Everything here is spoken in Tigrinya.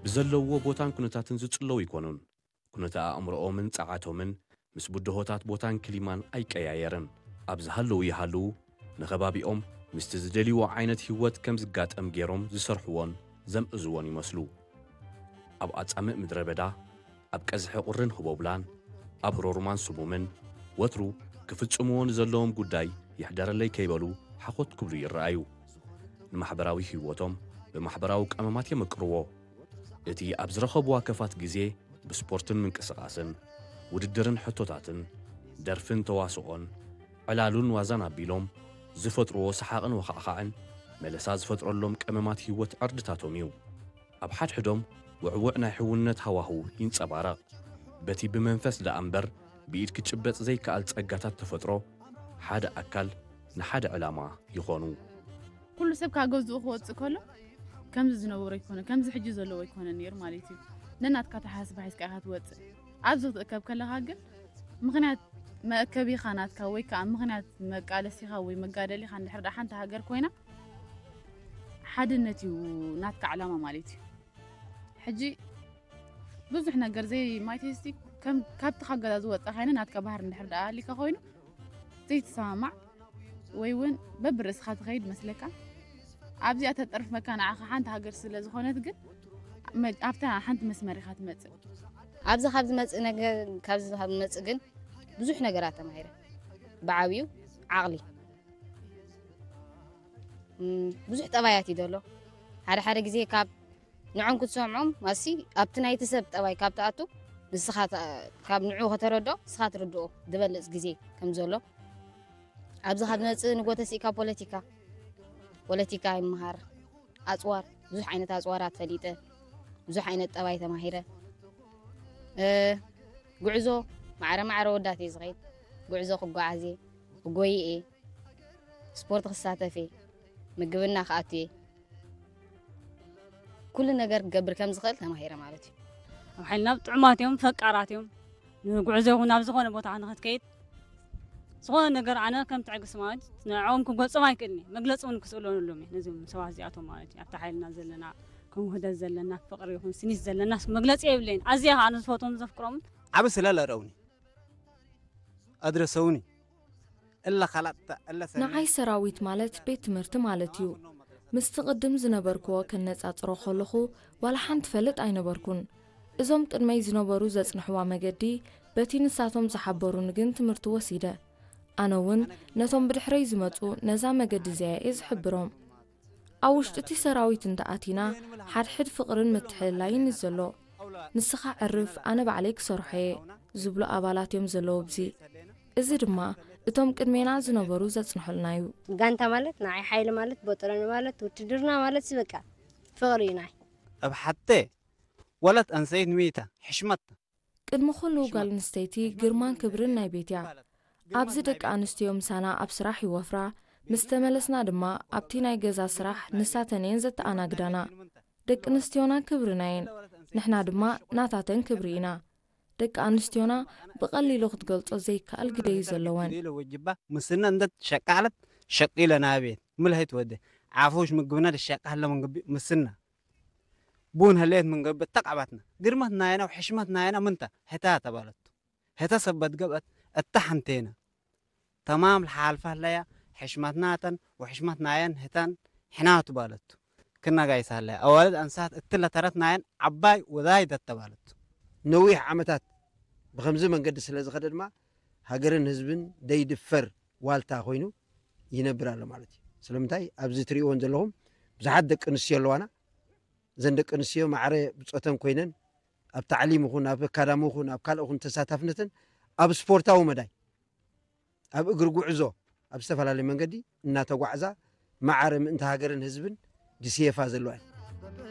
ብዘለውዎ ቦታን ኩነታትን ዝጽለዉ ኣይኮኑን። ኩነተ ኣእምሮኦምን ጸዓቶምን ምስ ብድሆታት ቦታን ክሊማን ኣይቀያየርን። ኣብ ዝሃለዉ ይሃልዉ፣ ንኸባቢኦም ምስቲ ዝደልይዎ ዓይነት ህይወት ከም ዝጋጠም ገይሮም ዝሰርሕዎን ዘምእዝዎን ይመስሉ። ኣብ ኣጻምእ ምድረ በዳ፣ ኣብ ቀዝሒ ቁርን ህቦብላን፣ ኣብ ህሮሩማን ስሙምን፣ ወትሩ ክፍጽምዎ ንዘለዎም ጉዳይ ይሕደረለይ ከይበሉ ሓኾት ክብሉ ይረኣዩ። ንማሕበራዊ ህይወቶም ብማሕበራዊ ቀመማት የመቅርዎ። እቲ ኣብ ዝረኸብዋ ከፋት ግዜ ብስፖርትን ምንቅስቓስን፣ ውድድርን ሕቶታትን፣ ደርፍን ተዋስኦን፣ ዕላሉን ዋዛን ኣቢሎም ዝፈጥርዎ ሰሓቕን ወኻዕኻዕን መለሳ ዝፈጥረሎም ቀመማት ህይወት ዕርድታቶም እዩ። ኣብ ሓድሕዶም ውዕውዕ ናይ ሕውነት ሃዋህው ይንጸባረቕ። በቲ ብመንፈስ ደኣ እምበር ብኢድ ክጭበጥ ዘይከኣል ጸጋታት ተፈጥሮ ሓደ ኣካል ንሓደ ዕላማ ይኾኑ። ኩሉ ሰብ ካብ ገዝኡ ክወጽእ ከሎ ከምዚ ዝነበሮ ኣይኮነ፣ ከምዚ ሕጂ ዘለዎ ኣይኮነን ነይሩ ማለት እዩ። ነናትካ ኣተሓሳስባ ሒዝካ ኢኻ ትወጽእ። ኣብዚ ክትእከብ ከለኻ ግን ምኽንያት መእከቢኻ ናትካ ወይ ከዓ ምኽንያት መቃለሲኻ ወይ መጋደሊኻ እንድሕር ደኣ ሓንቲ ሃገር ኮይና ሓድነት እዩ ናትካ ዕላማ ማለት እዩ። ሕጂ ብዙሕ ነገር ዘይ ማይቴስቲ ከም ካብቲ ካብ ገዛ ዝወጻ ካይነ ናትካ ባህር እንድሕር ደኣ ኣሊካ ኮይኑ ዘይትሰማማዕ ወይ እውን በብርእስኻ ትኸይድ መስለካ ኣብዚኣ ተጠርፍ መካ ንዓኻ ሓንቲ ሃገር ስለ ዝኾነት ግን መ- ኣብታ ሓንቲ መስመር ኢኻ ትመጽእ። ኣብዚ ካብ ዝመጽእ ነገር ካብዚ ካብ ዝመጽእ ግን ብዙሕ ነገራት ተማሂረ። ብዓብዩ ዓቕሊ እም፣ ብዙሕ ጠባያት እዩ ዘሎ። ሓደ ሓደ ግዜ ካብ ንዖም ክትሰምዖም ማሲ ኣብቲ ናይቲ ሰብ ጠባይ ካብ ትኣቱ ንስኻ ተ- ካብ ንዑ ከተረድኦ ንስኻ ትርድኦ ዝበልጽ ግዜ ከም ዘሎ ኣብዚ ካብ ዝመጽእ ንጎ ተሲእካ ፖለቲካ ፖለቲካ ይመሃር ኣጽዋር ብዙሕ ዓይነት ኣጽዋራት ፈሊጠ ብዙሕ ዓይነት ጠባይ ተማሂረ እ፣ ጉዕዞ ማዕረ ማዕረ ወዳት እየ ዝኸይድ ጉዕዞ ክጓዓዝ እየ ክጎይ እየ ስፖርት ክሳተፍ እየ ምግብና ክኣቱ እየ ኩሉ ነገር ክገብር ከም ዝኽእል ተማሂረ ማለት እዩ ኣብ ሓይልና ጥዑማት እዮም ፈቃራት እዮም ንጉዕዞ ይኹን ናብ ዝኾነ ቦታ ንኽትከይድ ዝኾነ ነገር ኣነ ከም ትዕግስቲ ማለት ንዕኦም ክገልጾም ኣይክእልን እየ መግለፂ እውን ክስእለንሎም እየ ነዚም ሰባት እዚኣቶም ማለት እዩ ኣብታ ሓይልና ዘለና ከም ውህደት ዘለና ፍቅሪ ይኹን ስኒት ዘለና መግለፂ የብለይን ኣዝያ ከዓ ኣነ ዝፈትዎም ዘፍቅሮምን ዓብ ስለ ለረውኒ ኣድረሰውኒ እለ ካላት እለ ሰኒ ንዓይ ሰራዊት ማለት ቤት ትምህርቲ ማለት እዩ። ምስቲ ቅድም ዝነበርክዎ ከነጻጽሮ ከለኹ ዋላ ሓንቲ ፈልጥ ኣይነበርኩን። እዞም ቅድመይ ዝነበሩ ዘጽንሕዋ መገዲ በቲ ንሳቶም ዝሓበሩኒ ግን ትምህርቲ ወሲደ። ኣነ እውን ነቶም ብድሕረይ ዝመጹ ነዛ መገዲ እዚኣ እየ ዝሕብሮም። ኣብ ውሽጢ እቲ ሰራዊት እንተኣቲና ሓድሕድ ፍቕርን ምትሕልላይን እዩ ዘሎ። ንስኻ ዕርፍ ኣነ ባዕለይ ክሰርሖ እየ ዝብሉ ኣባላት እዮም ዘለዉ ኣብዚ። እዚ ድማ እቶም ቅድሜና ዝነበሩ ዘጽንሑልና እዩ። ጋንታ ማለት ንዓይ ሓይሊ ማለት በጦሎኒ ማለት ውትድርና ማለት በቃ ፍቕሪ እዩ ናይ። እብ ሓቴ ወለት ኣንሰይት ሚተ ሕሽመት ቅድሚ ኩሉ ጓል ኣንስተይቲ ግርማን ክብርን ናይ ቤት እያ። ኣብዚ ደቂ ኣንስትዮ ምሳና ኣብ ስራሕ ይወፍራ፣ ምስ ተመለስና ድማ ኣብቲ ናይ ገዛ ስራሕ ንሳተን እየን ዘተኣናግዳና። ደቂ ኣንስትዮና ክብርና እየን፣ ንሕና ድማ ናታተን ክብሪ ኢና። ደቂ ኣንስትዮና ብቐሊሉ ክትገልጾ ዘይከኣል ግደ እዩ ዘለወን። ወጅባ ምስና እንደ ሸቃለት ሸቂለ ናቤት ምልሀይት ወደ ዓፎሽ ምግብና ደሻቃ ሀለ መንግቢ ምስና ቡን ህሌት ምን ገብእ ተቃባትና ግርመት ናየና ወሕሽመት ናየና ምንተ ህታ ተባለቱ ህተ ሰበት ገብአት እታ ሐንቴና ተማም ለሓልፋ ህለያ ሕሽመትናተን ወሕሽመት ናየን ህተን ሕናቱ ባለቱ ክነጋይሳ ህለያ አዋልድ አንሳት እትለ ተረት ናየን ዓባይ ወዛይደት ተባለቱ ነዊሕ ዓመታት ብኸምዚ መንገዲ ስለ ዝኸደ ድማ ሃገርን ህዝብን ደይድፈር ዋልታ ኮይኑ ይነብር ኣሎ ማለት እዩ። ስለምንታይ ኣብዚ ትሪእዎን ዘለኹም ብዙሓት ደቂ ኣንስትዮ ኣለዋና። እዘን ደቂ ኣንስትዮ ማዕረ ብፆተን ኮይነን ኣብ ታዕሊም ይኹን ኣብ ኣካዳሚ ይኹን ኣብ ካልእ ይኹን ተሳታፍነተን ኣብ ስፖርታዊ መዳይ ኣብ እግሪ ጉዕዞ ኣብ ዝተፈላለየ መንገዲ እናተጓዕዛ ማዕረ ምእንቲ ሃገርን ህዝብን ድስየፋ ዘለዋ እየን።